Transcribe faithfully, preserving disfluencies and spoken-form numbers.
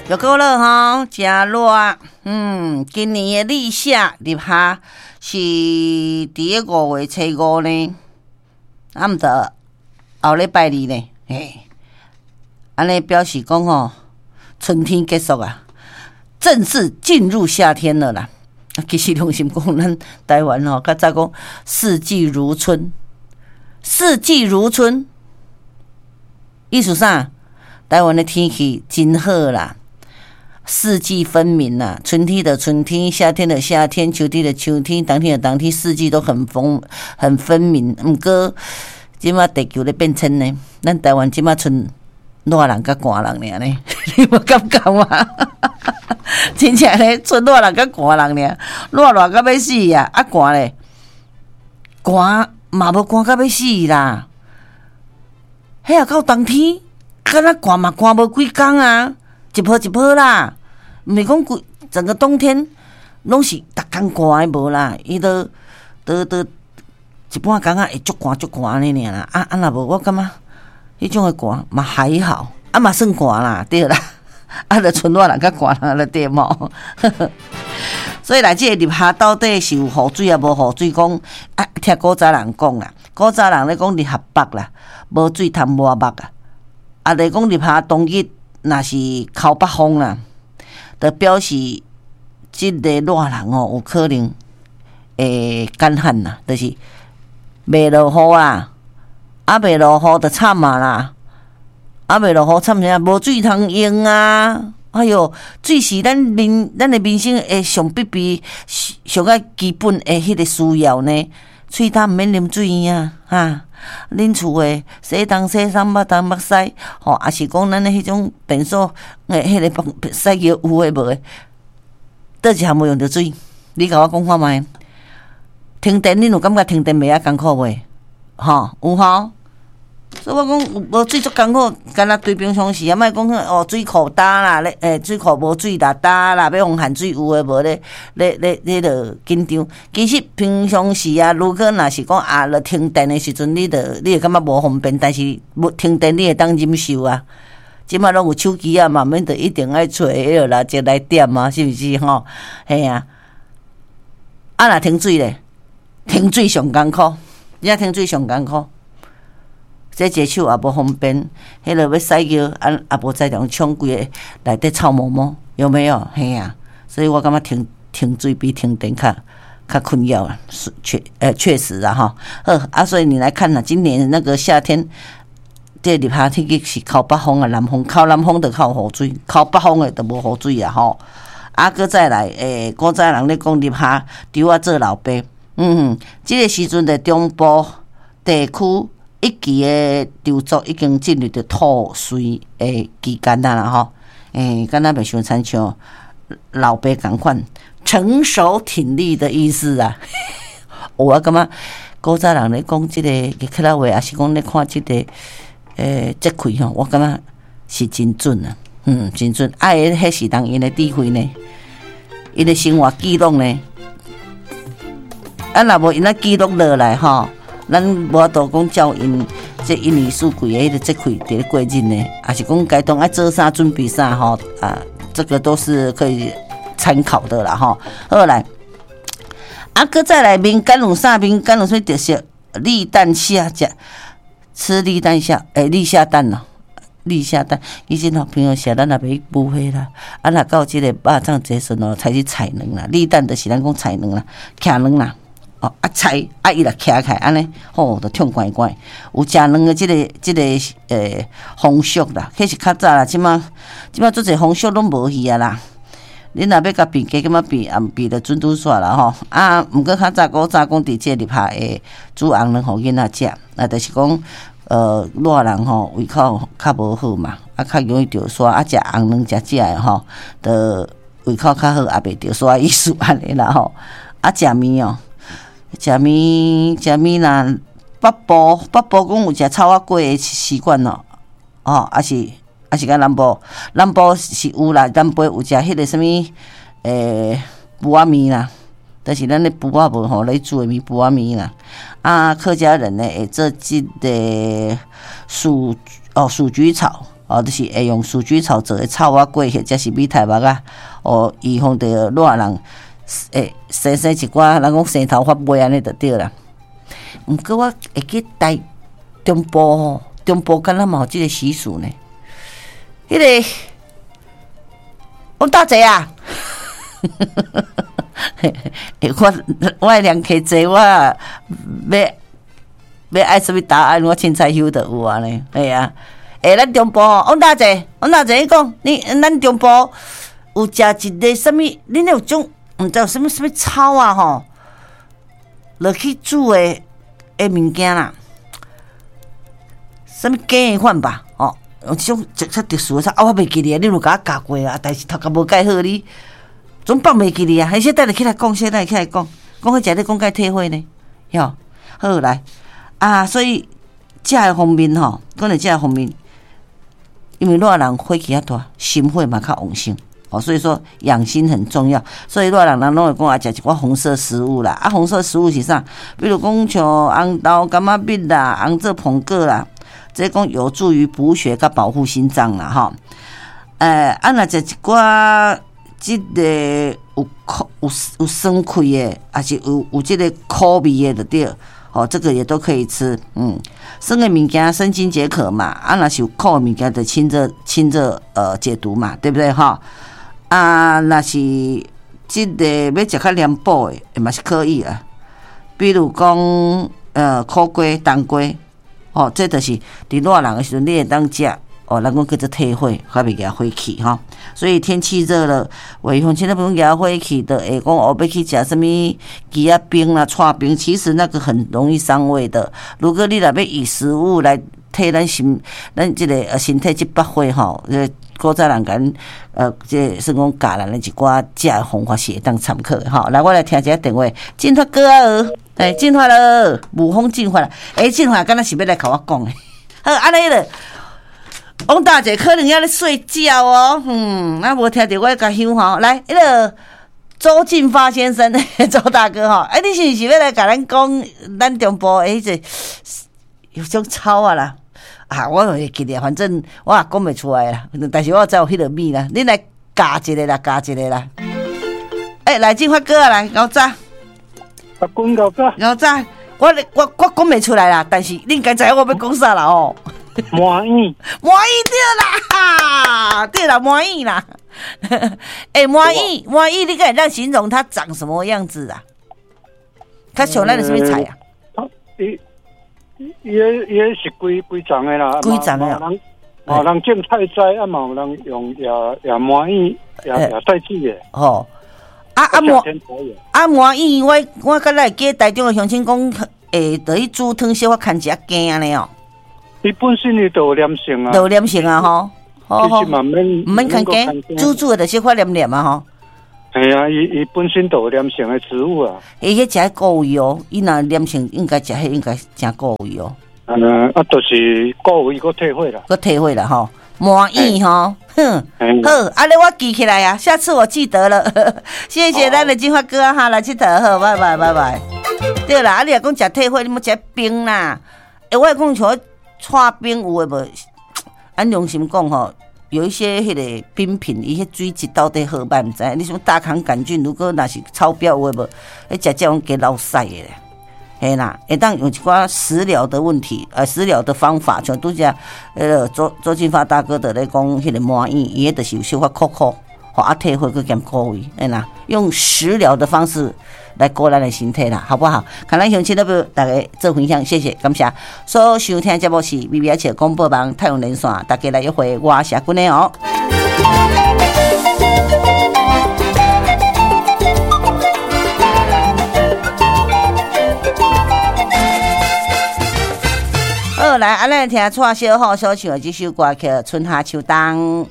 又過了吼，誠熱。嗯，今年的立夏立夏是佇咧五月初五呢，啊毋著後禮拜二呢，嘿，按呢表示講吼，春天結束啊，正式進入夏天了啦。其實良心講，咱台灣吼，較早講四季如春，四季如春，意思啥？台灣的天氣真好啦。四季分明啦，春天的春天，夏天的夏天，秋天的秋天，冬天的冬天，四季都很分很分明。毋過，這馬地球咧變遷呢，咱台灣這馬賰熱人佮寒人爾呢，你無感覺嗎？真正咧，賰熱人佮寒人爾，熱熱甲欲死啊！啊寒咧，寒嘛無寒甲欲死啦。彼也到冬天，敢若寒嘛寒無幾工啊。一波一波啦，毋是講規整個冬天攏是逐工寒的無啦，伊都都都一半工仔會足寒足寒按呢爾啦。啊啊若無我感覺彼種的寒嘛還好，啊嘛算寒啦，對啦。啊，著賰熱人較寒人了對無？所以來這個立夏到底是有雨水抑無雨水？講啊，聽古早人講啦，古早人咧講立夏北啦，無水通抹目啊。啊，咧講立夏當日。若是靠北風啦，就表示這个熱人哦，有可能會乾旱啦，就是袂落雨啦，啊袂落雨就慘啊啦，啊袂落雨慘啥？無水通用啊！哎喲，水是咱民咱的民生的上必備、上較基本的彼個需要呢。喙焦毋免啉水啊，哈！恁厝的洗東洗西，抹東抹西，吼，抑是講咱的彼種便所的彼个幫洗尿有的無的，佗一項無用著水？你共我講看覓？停電，恁有感覺停電袂曉艱苦袂？吼，有吼？所以我講無水足艱苦，敢若對平常時啊，莫講哦水庫焦啦，咧欸水庫無水啦，焦啦，欲予限水有的無咧，咧咧咧著緊張。其實平常時啊，如果若是講啊，著停電的時陣，你著你會感覺無方便，但是無停電你會當忍受啊。這馬攏有手機啊，嘛免著一定愛揣彼个蠟燭來點啊，是毋是吼？嘿啊，啊若停水咧，停水上艱苦，你若停水上艱苦。洗一个手也無方便，彼个欲洗尿啊也無才調沖規个內底臭毛毛，有沒有？嘿啊，所以我感覺停停水比停電較較困擾啊，是確呃確實啊吼。好啊，所以你來看啦，今年那個夏天，這立夏天氣是靠北風啊，南風，靠南風就較有雨水，靠北風的就無雨水啊吼。啊，閣再來，欸，古早人咧講立夏豬仔做老爸，嗯哼，這個時陣的中部地區。一季的稻作已經進入著吐穗的期間啊啦吼，欸，敢若袂傷親像老爸仝款，成熟挺立的意思啊。我感覺古早人咧講這个客家話，抑是講咧看這个欸節氣吼，我感覺是真準啊，嗯，真準。啊，彼是人𪜶的智慧呢，𪜶的生活記錄呢，啊，若無𪜶仔記錄落來吼。咱無法度講照𪜶這一年四季的彼个節氣佇咧過日呢，抑是講該當愛做啥準備啥吼啊，這個都是可以參考的啦吼。好來，啊，閣再來民間有啥？民間有啥特色？立蛋下食，吃立蛋下，欸，立夏蛋咯，立夏蛋。以前吼平常時咱也袂去捕蝦啦，啊，若到這個肉粽節時陣哦，才去採卵啦。立蛋就是咱講採卵啦，徛卵啦。啊採啊，伊若徛起來按呢，吼，就痛怪怪。有食卵的這个這个欸風俗啦，彼是較早啦，這馬這馬足濟風俗攏無去啊啦。恁若欲共比，加減仔比，也毋比著準拄煞啦吼。啊，毋過較早古早講佇這個立夏會煮紅卵予囡仔食，啊，就是講呃熱人吼胃口較無好嘛，啊較容易著痧，啊食紅卵食食的吼，就胃口較好，也袂著痧意思按呢啦吼。啊，食麵哦。食麵，食麵啦，北部北部講有食草仔粿的習慣咯，哦，抑是抑是講南部，南部是有啦，南部有食彼个啥物，欸，脯仔麵啦，就是咱的脯仔無吼咧煮的麵脯仔麵啦。啊，客家人呢會做這个鼠哦鼠菊草，哦，就是會用鼠曲草做的草仔粿，或者是米苔目仔，哦，預防著熱人會生生一寡，人講生頭髮尾按呢就對啦。毋過我會記台中部吼，中部敢若嘛有這個習俗呢。彼個王大姐啊，我我兩客濟，我要欲愛啥物答案，我凊彩翕就有啊呢，嘿啊。欸，咱中部吼，王大姐，王大姐，你講，你咱中部有食一个啥物？恁有種毋知有啥物啥物草啊吼，落去煮的的物件啦，啥物雞的款吧？哦，有這種較特殊的草，啊，我袂記得，你有共我教過啊，但是頭殼無蓋好，你總放袂記得啊。彼小等下起來講，小等下起來講，講彼食咧講甲退火呢，喲，好來啊，所以食的方面吼，講著食的方面。因為熱人火氣較大，心火嘛較旺盛，哦，所以說養心很重要。所以熱人人攏會講啊，食一寡紅色食物啦，啊，紅色食物是啥？比如講像紅豆、柑仔蜜啦、紅棗蘋果啦，這講有助於補血佮保護心臟啦，吼。欸，啊，若食一寡這個有苦有有酸氣的，抑是有有這個苦味的就對。哦，這個也都可以吃，嗯，酸的物件生津解渴嘛，啊，若是有苦的物件就清熱清熱呃解毒嘛，對不對哈？啊，若是這個欲食較涼補的，嘛是可以啊。比如講呃苦瓜、冬瓜，哦，這就是佇熱人的時陣你會當食。哦，人講叫做退火，較袂惹火氣吼。所以天氣熱了，預防針都不用惹火氣的。會講哦，欲去食啥物枝仔冰啦、剉冰，其實那個很容易傷胃的。如果你若欲以食物來替咱身、咱這個呃身體這百火吼，這古早人共咱呃，這算講教咱的一寡食的方法是會當參考的吼。來，我來聽一下電話，進發哥啊，欸，進發了，武風進發啦。欸，進發敢若是欲來共我講的，好，按呢囉。王大姐可能猶咧睡覺哦，嗯，啊無聽著我共響吼，來，彼个周進發先生，周大哥吼，欸，你是毋是欲來共咱講咱中部的彼个有種草啊啦？啊，我會記得，反正我也講袂出來啦，但是我知有彼个物啦，你來教一个啦，教一个啦。欸，來進發哥啊，來，𠢕早。阿公𠢕早。𠢕早，我我我講袂出來啦，但是你應該知影我欲講啥啦哦。麻莛，麻莛對啦，對啦，麻莛啦。欸，麻莛，麻莛，你敢會當形容它長什麼樣子啊？較像咱的啥物菜啊？伊伊伊是規規叢的啦，規叢的。嘛有人種菜栽，啊嘛有人用也也麻莛也也帶子的。吼，啊啊麻啊麻莛，我我敢若會記台中的鄉親講，會落去煮湯小可牽一仔羹按呢哦。伊本身伊就有黏性啊，就有黏性啊吼，其實嘛毋免毋免牽羹，煮煮的就小可黏黏啊吼。係啊，伊伊本身就有黏性的植物啊。伊彼食顧胃哦，伊若黏性應該食彼應該誠顧胃哦。嗯，啊，就是顧胃閣退火啦。閣退火啦吼，麻莛吼，哼，好，按呢我記起來啊，下次我記得了。謝謝咱的金發哥哈，來𨑨迌好，拜拜拜拜。對啦，啊你若講食退火，你莫食冰啦。欸，我講像剉冰有的無？按良心講吼，有一些彼个冰品，伊彼水質到底好䆀毋知。你像大腸桿菌，如果若是超標有的無，彼食食攏加流屎的咧。嘿啦，會當用一寡食療的問題，呃，食療的方法，像拄才彼个周周進發大哥佇咧講彼个麻莛，伊彼就是有小可苦苦，吼啊退火閣兼顧胃，嘿啦，用食療的方式來顧咱的身體啦，好不好？看咱鄉親欲大家做分享，謝謝，感謝。所收聽節目是微微仔笑廣播網太陽連線，大家來約會，我是阿君的哦。好，來，啊，咱來聽蔡小虎所唱的這首歌曲《春夏秋冬》。